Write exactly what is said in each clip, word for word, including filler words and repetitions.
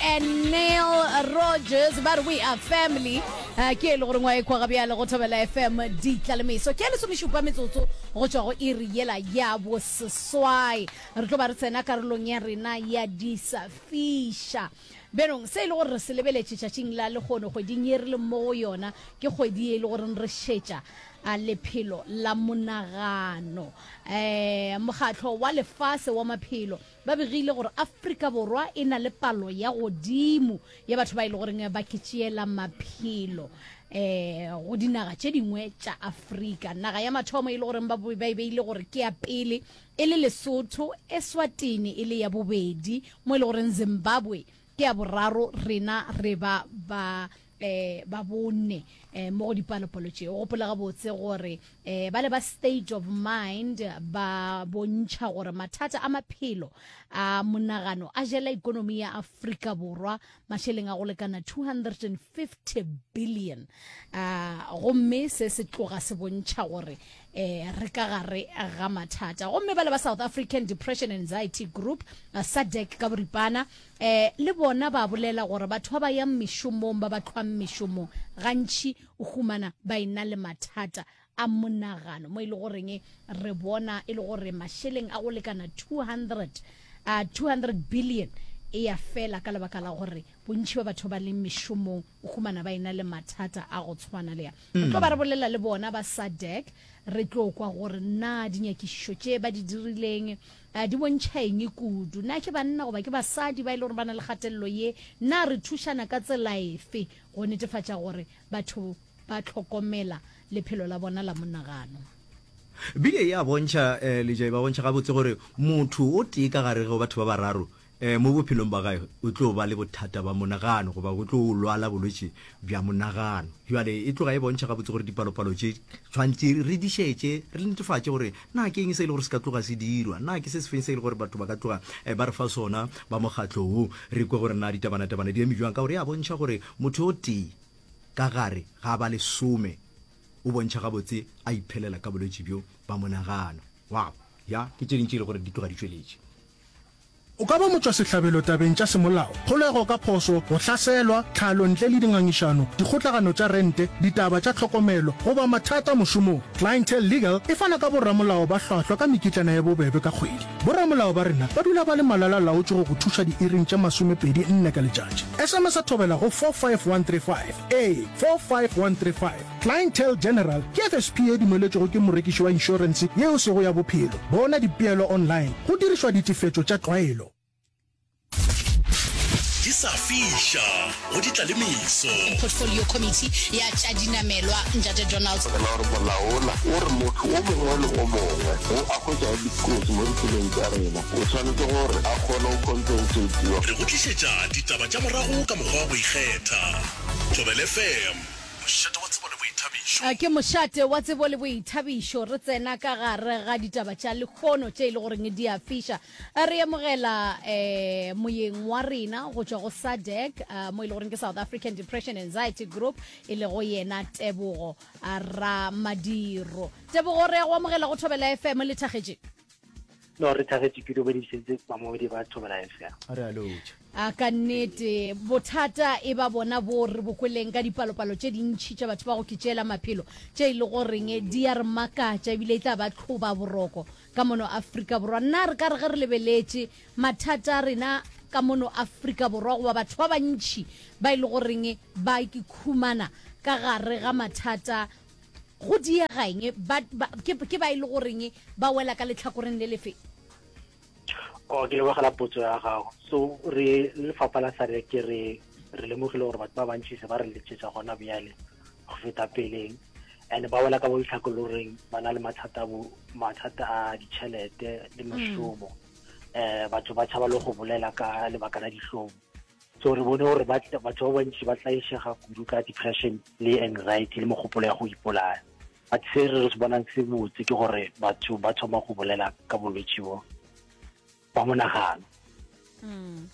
and Neil Rogers ba re we are family. Uh, ke e le gore ngwa e kwa gabjale go Thobela F M ditlalemeso ke ya lesomešupa metsotso go tšwa go iri yela ya boseswai. Re tlo ba re tsena karolong ya rena ya disafiša. Bjanong se e le gore re se lebeletše tšatšing la lehono, kgweding ye re leng mo go yona, ke kgwedi ye e le goreng re šetša a lephelo la monagano. um Mokgatlo wa Lefase wa Maphelo ba begile gore Afrika Borwa e na le palo ya godimo ya batho ba e le goreng ba ke tšeela maphelo um go dinaga tše dingwe tša Afrika. Naga ya mathomo e le goreng ba ba e beile gore ke ya pele e le Lesotho, Eswatini e le ya bobedi, mo e le goreng Zimbabwe ke ya boraro, rena re ba ba um ba bone um mo go dipalopalo tše. O gopola gabotse gore um ba le ba State of Mind ba bontšha gore mathata a maphelo a monagano a jela ikonomi ya Afrika Borwa mašeleng a go lekana two hundred and fifty billion, uh, gomme se se tloga se bontšha gore eh re ka gare ga mathata. Gomme ba le ba South African Depression Anxiety Group, uh, SADAG ka boripana, eh le bona ba bolela gore batho ba ba yang mešomong, ba ba tlhwang mešomong, gantši o humana ba ena le mathata a monagano, mo e le goreng re bona e le gore mašeleng a go lekana two hundred uh, two hundred billion e ya fela ka lebaka la gore bontši ba batho ba leng mešomong o humana ba ena le mathata a go tshwana le ya. Re tlo ba re bolela le bona ba SADAG, re tlo kwa gore na dinyakišišo tše ba di dirileng uh, di bontšha eng kudu, na ke banna goba ke basadi ba e le gore ba na le kgatelelo ye, na re thušana ka tsela efe go netefatša gore batho ba tlhokomela lephelo la bona la monagano. Bile ya bontšha um lejai, ba bontšha gabotse gore motho o tee ka gare go batho ba bararo um mo bophelong ba gae o tlo ba le bothata ba monagano goba o tlo lwala bolwetši bja monagano. Jale e tloga e bontšha gabotse gore dipalopalo tše tshwanetse re di šetše, re netefatše gore na ke eng se e le gore se ka tloga se dirwa, na ke se se feng se e le gore batho ba ka tloga eh, ba re fa sona ba mokgatlo wo, re kwe gore na ditabanatabana di eme jwang, ka gore ya bontšha gore motho o tee ka gare ga ba lesome o bontšha gabotse a iphelela ka bolwetši bjo ba monagano. Wow, ya ke tše dintši e le gore di tloga di tšweletše. O ka ba motšwasehlabelo tabeng tša semolao, kgolego ka phošo, go hlaselwa, tlhalo ntle le dingangišano, dikgotlagano tša rente, ditaba tša tlhokomelo goba mathata mošomong. Clientele Legal e fana ka boramolao ba hlwahlwa ka mekitlana ya bobebe ka kgwedi. Boramolao ba rena ba dula ba le malala laotše go go thuša diiring tše masomepedi nne ka letšatši. S M S a Thobela go four five one three five, ee, four five one three five. Clientele General ke F S P e dumeletšwego ke morekiši wa inšorense yeo sego ya bophelo. Bona dipeelo online go dirišwa ditefetšo tša tlwaelo. Di sa fiša go ditlalemeso. Portfolio Committee ya tša dinamelwa, Ntate Donald. La gore molaola o re motho o mongwe le o mongwe go a hwetša dikotsi mo ditseleng tša rena o tshwanetse gore a kgone go compensatiwa. Re go tlišetša ditaba tša morago ka mokgwa wa go ikgetha. Thobela F M, mošate wa tsebo le boithabišo. A ke mošate wa tsebo le boithabišo. Re tsena ka gare ga ditaba tša lehono tše e le goreng di a fiša. Re amogela um moyeng wa rena go tšwa go SADAG, uh, mo e le goreng ke South African Depression Anxiety Group, e lego yena Tebogo Ramadiro. Tebogo, re ya go amogela go Thobela F M. Le thagetše? No, re thagetše, ke dumedišitse bamamedi ba Thobela F M. Re a lotša. A ka nnete bothata e ba bona bo re bokweleng ka dipalopalo tše dintšhi tša batho ba go ketšeela maphelo tše e le goreng di ya re makatša ebile e tla ba tlhoba boroko ka mono Afrika Borwa. Nna re ka re ge re lebeletše mathata a rena ka mono Afrika Borwa goba batho ba bantšhi ba e le goreng ba ke khumana ka gare ga mathata go diega eng, ba, ba, ke, ke ba e le goreng ba wela ka letlhakoreng le lefe? O ke lebogela potso ya gago. So re le lefapha la SADAG ke re re lemogile gore batho ba bantši se ba re letšetša gona bjale go feta peleng, and ba wela ka bo ditlhakoloreng ba na le mathata bo mathata a ditšhelete le mešomo. um batho ba tšhaba le go bolela ka lebaka la dihlong. So re bone gore batho ba bantši ba tlaišega kudu ka depression le anxiety le mogopolo ya go ipolaya. But se re se bonang se botse ke gore batho ba thoma go bolela ka bolwetši bo ba monagano. Mm.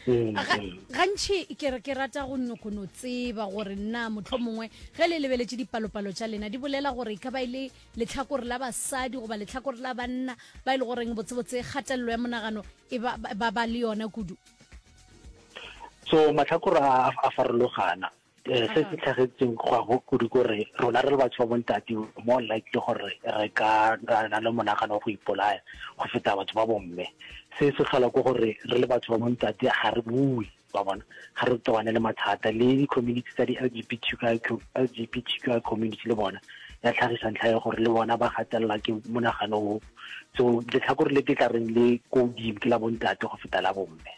Mm, Ga- mm. Gantši ke re ke rata go nyoko no tseba gore nna motlho mongwe ge le lebeletše dipalopalo tša lena di bolela gore e ka ba e le letlhakore la basadi goba letlhakore la banna ba e le goreng botsebotse kgatelelo ya monagano e ba ba ba le yona kudu. So matlhakore a a farologana. Eh, se se tlhagetseng go go kudu kore rona re le batho ba bontate more likely gore re ka ra na le monagano wa go ipolaya go feta batho ba bomme. Se se tlhola ke gore re le batho ba bontate ga re bue, ba bona ga re tobane le mathata le di-community tsa di-L G B T Q I, L G B T Q I community le bona ya tlhagisa ntlha ya gore le bona ba gatelela ke monagano o. So letlhakore le ke tla reng le ko godimo ke la bontate go feta la bomme.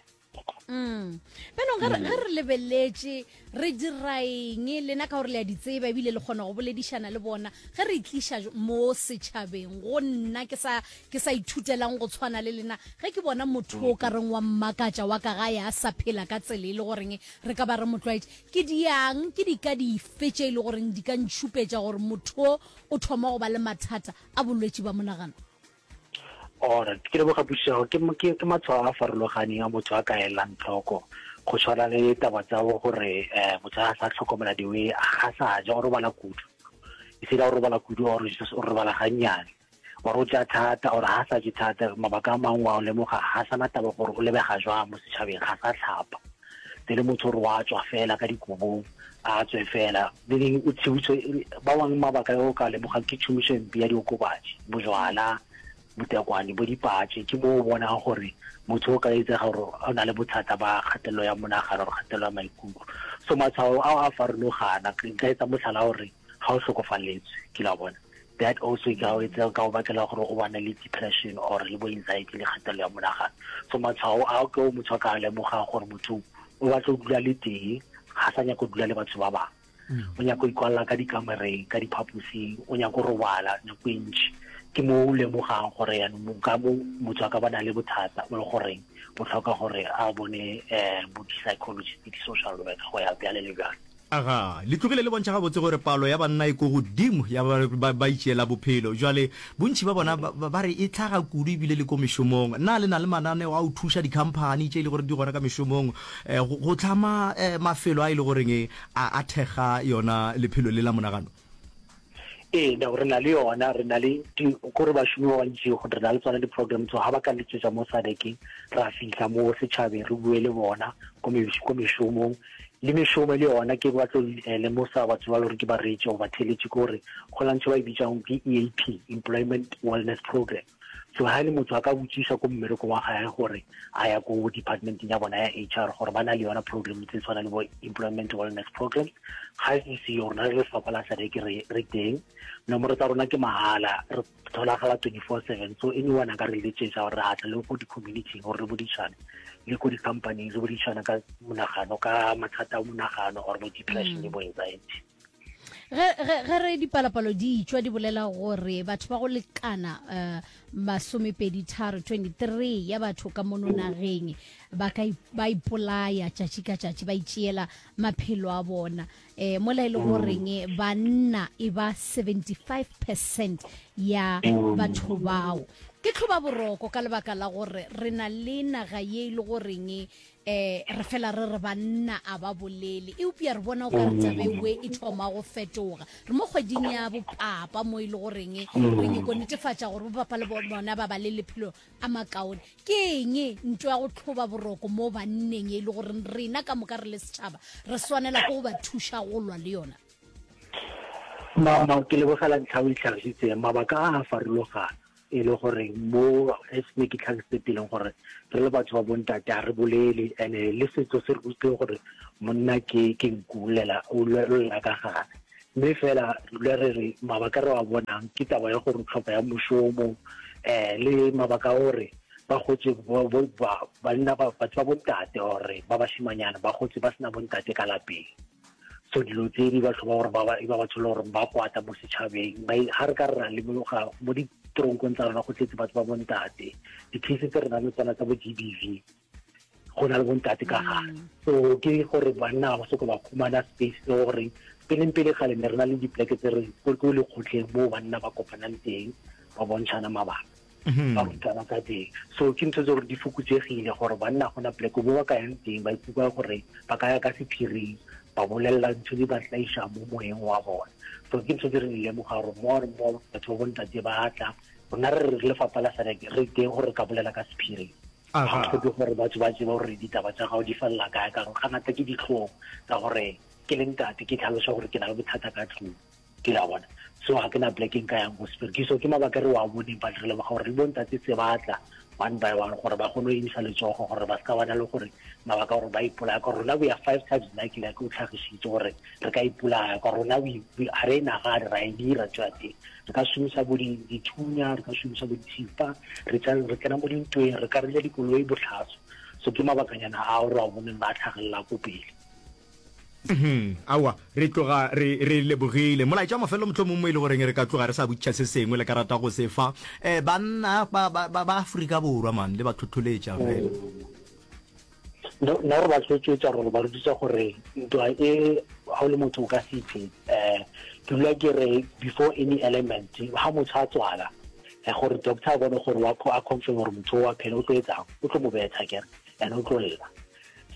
Mm. Bjanong ge re ge re lebeletše re dira eng lena ka gore le a di tseba ebile le kgona go boledišana le bona ge re tliša mo setšhabeng go nna ke sa ke sa ithutelang go tshwana le lena ge ke bona motho o ka reng wa mmakatša wa ka gae a sa phela ka tsela e le goreng re ka ba re mo tlwaetše ke diang ke di ka dife tše e le goreng di ka ntšhupetša gore motho o o thoma go ba le mathata a bolwetši ba monagano? Alright, ke leboga pušego. Ke ke ke matshwao a farologaneng a motho a ka elang tlhoko. Go tshwana le taba tsa bo gore eh motho a sa tlhokomela diwe, ga sa ja, o robala kudu. E se o robala kudu or just o robala gannyane. Or o ja thata or ha sa je thata, mabaka a mangwe wa o lemoga ga sana taba gore o lebega jwang mo setšhabeng, ga sa tlhapa. Le motho gore wa tswa fela ka dikobong, a tswe fela. Meaning o tshibuso ba bangwe mabaka o ka lemogang ke tšhomišo e mpe ya diokobatši, bojwala, botekwane bo dipatše. Ke mo o bonang gore motho o ka etsega gore o na le bothata ba kgatelelo ya monagano or kgatelelo ya maikutlo. So matshwao ao a farologana. Nka etsa motlhala gore ga o tlhokofaletswe ke la bona, that also e ka o etsa ka o bakela gore o bane le depression or le bo anxiety le kgatelelo ya monagano. So matshwao ao ke o motho a ka lemogang gore motho o batla go dula le teng, ga sa nyaka go dula le batho ba bangwe, o nyaka go ikwalela ka dikamoreng, ka diphaposing, o nyaka go robala nako e ntši. Ke mo o lemogang gore yaanong ka mo motho a ka ba na le bothata bo le goreng bo tlhoka gore a bone um bo di-psychologist, di-social worker, go ya bjale le bjale. Aga, le tlogile le bontšha gabotse gore palo ya banna e ko godimo ya ba, ba, ba itšeela bophelo. Jwale bontši ba bona ba, ba, ba re e tlhaga kudu ebile le ko mešomong. Na le na le mananeo a go thuša dikhamphani tše e le gore di gona ka mešomong eh, go, go tlhama eh, mafelo a e le goreng eh, a, a thekga yona lephelo le la monagano? Ee, no, re na le yona, re na le kore bašomi ba bantši re na le tsona di-program tso ga ba ka letsetsa mo S A D C, ra fitlha mo setšhabeng re bue le bona ko mešomong le mešomo le yona. Ke batlo lemosa batho ba le gore ke bareetši go ba theletše ke gore go na ntho ba e bitsang ke E A P, Employment Wellness Program. So ha e le motho a ka botšiša ko mmerekong wa gae gore a ya ko departmenteng ya bona ya H R gore ba na le yona program tse tshwana le bo employment wellness programs. Ga e seyo, rona re lefapha la S A D C re re teng, nomoro tsa rona ke mahala, re tholagala twenty-four seven. So anyone a ka re letsetsa gore re atla le ko di-community gore re bodišane le ko di-company re bodišana ka monagano, ka mathata a monagano or bo depression le bo anxiety. ge ge ge re dipalopalo di tšwa di bolela gore batho ba go lekana uh, masomepedi tharo twenty-three ya batho ka mono nageng ba ka ba ipolaya tšatši ka tšatši, ba itšeela maphelo a bona, eh mola e le goreng banna e ba seventy-five percent ya batho bao. Ke tlhoba boroko ka lebaka la gore re na le naga ye e le goreng eh re fela re re banna a ba bolele, eupša re bona o ka re tabewe e thoma go fetoga. Re mo kgweding ya bopapa mo e le goreng re nyako netefatša gore bopapa le bona ba ba le lephelo a makaone. Ke eng ntho ya go tlhoba boroko mo banneng e le gore rena ka moka re le setšhaba re swanela ke go ba thuša go lwa le yona? Ma, ma, ke lebogela ntlha o e tlhagisitseng. Mabaka a a farologana e le gore mo as ne ke tlhagisitse peleng gore re le batho ba bontate ga re bolele, and-e le setso se re rutileng gore monna ke ke nku lela o lela ka gare. Mme fela le re re mabaka re wa bonang ke taba ya gore tlhopha ya mošomo, um le mabaka a gore ba gotse banna, batho ba bontate or ba bashimanyana ba gotse ba sena bontate ka lapeng. So dilo tse di batho ba gore ba ba batho le gore ba kwata mo setšhabeng. Ga re ka re ra lemoga mo ditoronkong tsa rona go tletse batho ba bontate, di-case tse re nang le tsona tsa bo G B V go na le bontate ka gare. So ke gore banna ba soko ba khumana space le gore peleng pele gale ne re na le dipleke tse re ko lekgotleng mo banna ba kopanang teng, ba bontšhana mabaka, ba rutana ka teng. So ke ntho tse gore di fokotsegile gore banna gona pleke mo ba ka yang teng, ba ikutlwa gore ba ka ya ka sephiring, ba bolelela ntho di ba tlaiša mo moyeng wa bona. So ke ntho tse re di lemoga gore more and more batho ba bontate ba tla rona re re lefapha la S A D C re teng gore re ka bolela ka sephiring. Ga o hloke gore batho ba tsebe gore ditaba tša gago di felela kae, ka gore gangata ke dihlong tsa gore ke le ntate ke tlhaloša gore ke na le bothata ka tlung. Ke la bona. So ga ke na plekeng ka yang go sepiri. So ke mabaka re wa boneng, but re leboga gore le bontate se ba tla one by one gore ba kgone go emisa letsogo gore ba se ka bana le gore mabaka gore ba ipolaya. Ka rona we are five times likely, like o tlhagisitse gore re ka ipolaya. Ka rona we ga re e nagane, ra e dira ntho ya teng. Re ka šomisa bo dithunya, re ka šomisa bo dithipa, re tsena mo dintweng, re ka reila dikoloi bohlaswa. So ke mabakanyana ao re a boneng ba tlhagelela ko pele. Mhm. Aowa, re tloga re, re lebogile. Molaetša wa mafelelo mohlomong mo e le goreng re ka tloga re sa botšiša se sengwe le ka rata go se fa eh, banna ba, ba, ba, ba Afrika Borwa man le ba tlhotlholetša fela. No, nna re ba tlhotlholetša gore ba rutisa gore ntwa e ga o le motho o ka se iphe. Eh, ke dula ke re before any element, ha motho a tswala, eh, gore doctor a bone gore wa a confirm gore motho o wa phela, o tlo etsang? O tlo mo betha akere, and o tlo lla.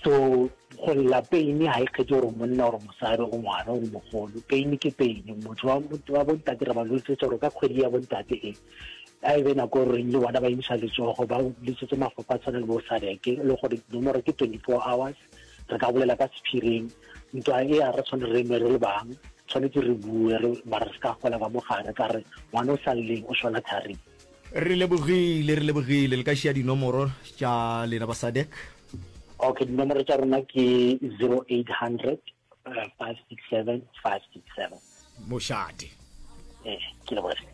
So go lla pain ga e kgethe gore monna gore mosadi o ngwana gore mogolo, pain ke pain. Motho wa wa bontate re ba lotsetsa gore ka kgwedi ya bontate e a e be nako e reng le bona ba emisa letsogo ba letsetse mafapha a tshwana le bo SADC, le gore nomoro ke twenty-four hours, re ka bolela ka sephiring. Ntwa e a re tshwane re nwe re le bang, tshwanetse re bue re mara re se ka gola ka mogare ka re ngwana o sa lleng o šwela tharing. Re lebogile, re lebogile. Le ka šia dinomoro tša lena ba SADC? Okay, dinomoro tša rona ke zero eight hundred five six seven five six seven. Mošate. Eh, ke lebogile.